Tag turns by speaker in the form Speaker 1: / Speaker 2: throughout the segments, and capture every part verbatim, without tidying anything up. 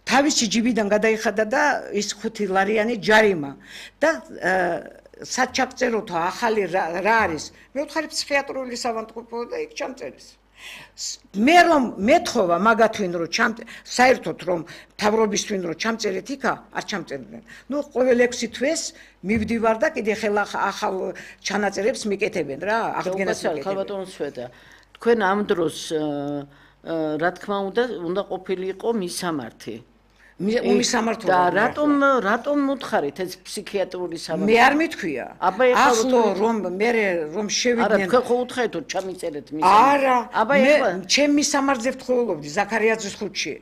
Speaker 1: თავისი ჯიბიდან გადაიხადა და ის ხუთი ლარიანი ჯარიმა და სად ჩაგწეროთო ახალი რა არის მე ვთხარი ფსიქიატრიული სავანტყოფო და იქ ჩამწერეს მე რომ მეთხოვა მაგათვინ რომ ჩამ საერთოდ რომ თავრობისთვინ რომ ჩამწერეთ იქა არ ჩამწერდნენ ნუ ყოველ ექვსი თვეს მივდივარ და კიდე ხელა ახალ ჩანაწერებს მიკეთებენ რა აღდგენას მიკეთებენ
Speaker 2: ხალბატონო სვეტა თქვენ ამ დროს რა თქმა უნდა უნდა ყოფილიყო მისამართი
Speaker 1: მისამართო
Speaker 2: და რატომ რატომ მოთხარით ეს ფსიქიატრული სამართალი
Speaker 1: მე არ მithქვია ახლო რომ მე რომ შევიდნენ
Speaker 2: არა თქვენ ხო უთხაითო ჩამიწერეთ
Speaker 1: მის არა მე ჩემ მისამართზე ვთხოვლობდი ზაქარიაძის ხუთში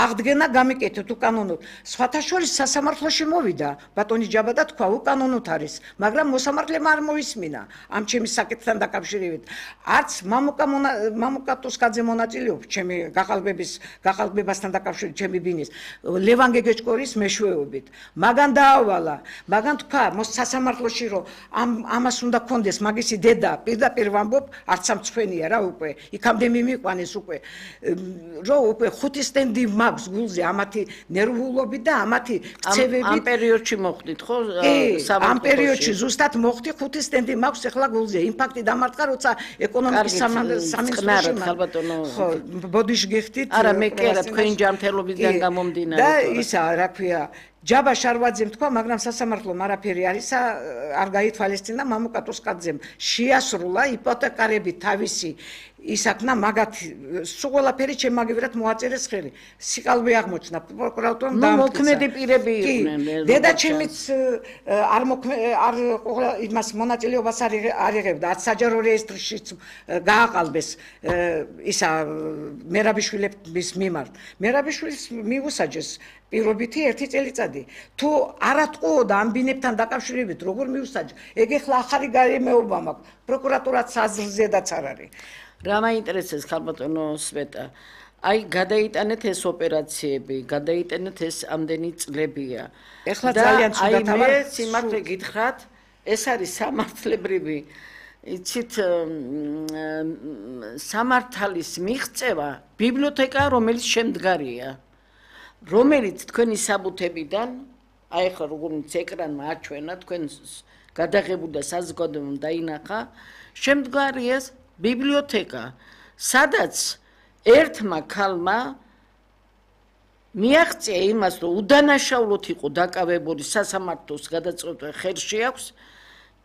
Speaker 1: აღდგენა გამიკეთეთ უკანონოდ სხვათა შორის სასამართლოში მოვიდა ბატონი ჯაბა და თქვა უკანონოდ არის მაგრამ მოსამართლემ არ მოისმინა ამ ჩემი საკითხთან დაკავშირებით არც მამუკა მამუკატოსკაძე მონაწილეობს ჩემი გაყალბების გაყალბებასთან დაკავშირებით ჩემი ბინის ლევან გეგეჭკორის მეშვეობით მაგან დაავალა მაგან თქვა მოსასამართლოში რომ ამ ამას უნდა კონდეს მაგისი დედა პირდაპირ ვამბობ არც სამწვენია რა უკვე იქამდე მიმიყვანეს უკვე რომ უკვე ხუთი სტენდი მაქვს გულზე ამათი ნერვულობით და ამათი ქცევებით
Speaker 2: ამ პერიოდში მოხდით ხო
Speaker 1: ამ პერიოდში ზუსტად მოხდი ხუთი სტენდი მაქვს ახლა გულზე იმპაქტი დამარტყა როცა ეკონომიკის სამინისტროში
Speaker 2: ხალბატონო
Speaker 1: ხო ბოდიში გიხდით
Speaker 2: არა მე კი არა თქვენი ჯანმრთელობისგან გამომდინარე
Speaker 1: და ისა რა ქვია ჯაბა შარვაძემ თქვა მაგრამ სასამართლომ არაფერი არისა არ გაითვალისწინა მამუკატოსკაძემ შეასრულა იპოთეკარები თავისი ისაკნა მაგათ სულ ყველაფერი ჩემაგევრად მოაწერეს ხელი სიყალბე აღმოჩნდა პროკურატურამ
Speaker 2: და მოქმედი პირები იყვნენ
Speaker 1: დედა ჩემიც არ არ იმას მონაწილეობას არ იღებდა არც საჯარო რეესტრშიც გააყალბეს ისა მერაბიშვილების მიმართ მერაბიშვილის მიუსაჯეს პირობითი ერთი წელიწადი თუ არატყუოდა ამ ბინებთან დაკავშირებით როგორ მიუსაჯა ეგ ახლა ახალი გარემოება მაქვს პროკურატურაც აზრზედაც არ არის
Speaker 2: რა მაინტერესებს ხალბატონო სვეტა აი გადაიტანეთ ეს ოპერაციები გადაიტანეთ ეს ამდენი წლებია
Speaker 1: ეხლა ძალიან ცუდად
Speaker 2: აი მე სიმართლე გითხრათ ეს არის სამართლებრივი იცით სამართალის მიღწევა ბიბლიოთეკა რომელიც შემდგარია რომელიც თქვენი საბუთებიდან აი ხა როგორც ეკრანმა აჩვენა თქვენ გადაღებულ და საზოგადოებამ დაინახა შემდგარია ბიბლიოთეკა სადაც ერთმა ქალმა მიაღწია იმას რომ უდანაშაულოდ იყო დაკავებული სასამართლოს გადაწყვეტა ხელში აქვს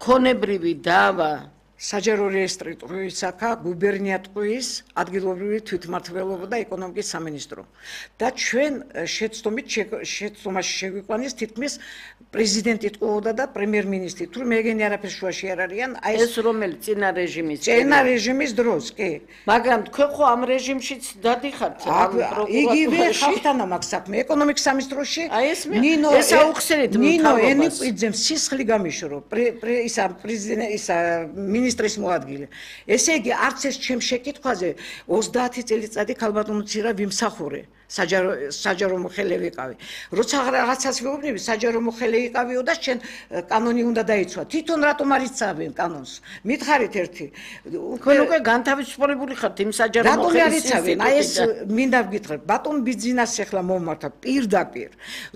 Speaker 2: ქონებრივი დავა
Speaker 1: საჯარო რეესტრი ტყუისაკა გუბერნია ტყუის ადგილობრივი თვითმმართველობა და ეკონომიკის სამინისტრო და ჩვენ შეცდომით შეცდომაში შეგვიყვანეს თითქმის პრეზიდენტი ტყუოდა და პრემიერ-მინისტრი თუ მეგენი არაფერ შუაში არ არიან
Speaker 2: აი ეს რომელი წინა რეჟიმის
Speaker 1: წინა რეჟიმის დროს კი
Speaker 2: მაგრამ თქვენ ხო ამ რეჟიმშიც დადიხართ ამ
Speaker 1: იგივე ხალხთან მაქვს საქმე ეკონომიკის სამინისტროში
Speaker 2: ნინო ეს აუხსენეთ
Speaker 1: ნინო ენიკვიძემ სისხლი გამიშრო ისა პრეზიდენტ ისა მინისტრის მოადგილე. ესე იგი არც ეს ჩემ შეკითხვაზე ოცდაათი წელიწადი ხალბატონო ცირა ვიმსახურე. საჯარო საჯარო მოხელე ვიყავი. როცა რაღაცას ვეუბნები, საჯარო მოხელე იყავიო და შენ კანონი უნდა დაიცვა. თვითონ რატომ არ იცავენ კანონს? მითხარით ერთი.
Speaker 2: თქვენ უკვე განთავისუფლებული ხართ იმ საჯარო
Speaker 1: მოხელის. რატომ არ იცავენ? აი ეს მინდა ვგითხრათ. ბატონ ბიძინას ახლა მომართა პირდაპირ.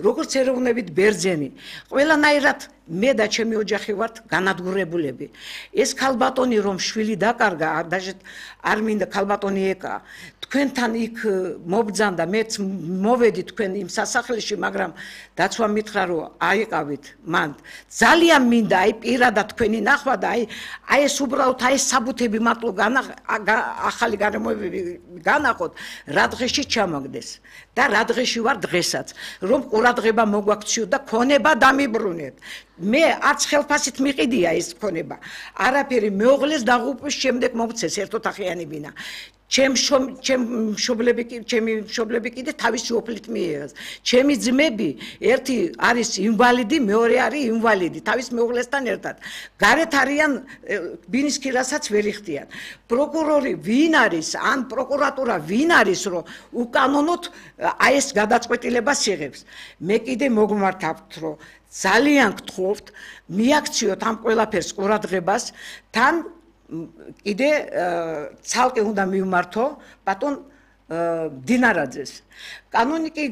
Speaker 1: როგორც ეროვნებით ბერძენი. ყველანაირად მე და ჩემი ოჯახი ვართ განადგურებულები. ეს ხალბატონი რომ შვილი დაკარგა, დაჟე არ მინდა ხალბატონი ეკა. თქვენთან იქ მობძანდა მეც მოვედი თქვენ იმ სასახლეში, მაგრამ დაცვა მითხრა რომ აიყავით მან. ძალიან მინდა აი პირადად თქვენი ნახვა და აი აი ეს უბრალოდ აი ეს საბუთები მარტო ახალი გარემოებები განახოთ, რა დღეში ჩამაგდეს და რა დღეში ვარ დღესაც, რომ ყურადღება მოგვაქციო და ქონება დამიბრუნეთ. მე არც ხელფასით მიყიდია ეს ქონება. არაფერი მეუღლეს დაღუპვის შემდეგ მომწეს ერთოთახიანი ბინა. ჩემ ჩემ მშობლები ჩემი მშობლები კიდე თავისი ოფლით მიიღეს. ჩემი ძმები ერთი არის ინვალიდი, მეორე არის ინვალიდი, თავის მეუღლესთან ერთად. გარეთ არიან ბინის ქირასაც ვერ იხდიან. პროკურორი ვინ არის, ან პროკურატურა ვინ არის, რომ უკანონოდ აი ეს გადაწყვეტილებას იღებს. მე კიდე მოგმართავთ, რომ ძალიან გთხოვთ, მიაქციოთ ამ ყველაფერს ყურადღებას, თან კიდე ცალკე უნდა მივმართო ბატონ დინარაძეს. კანონიკი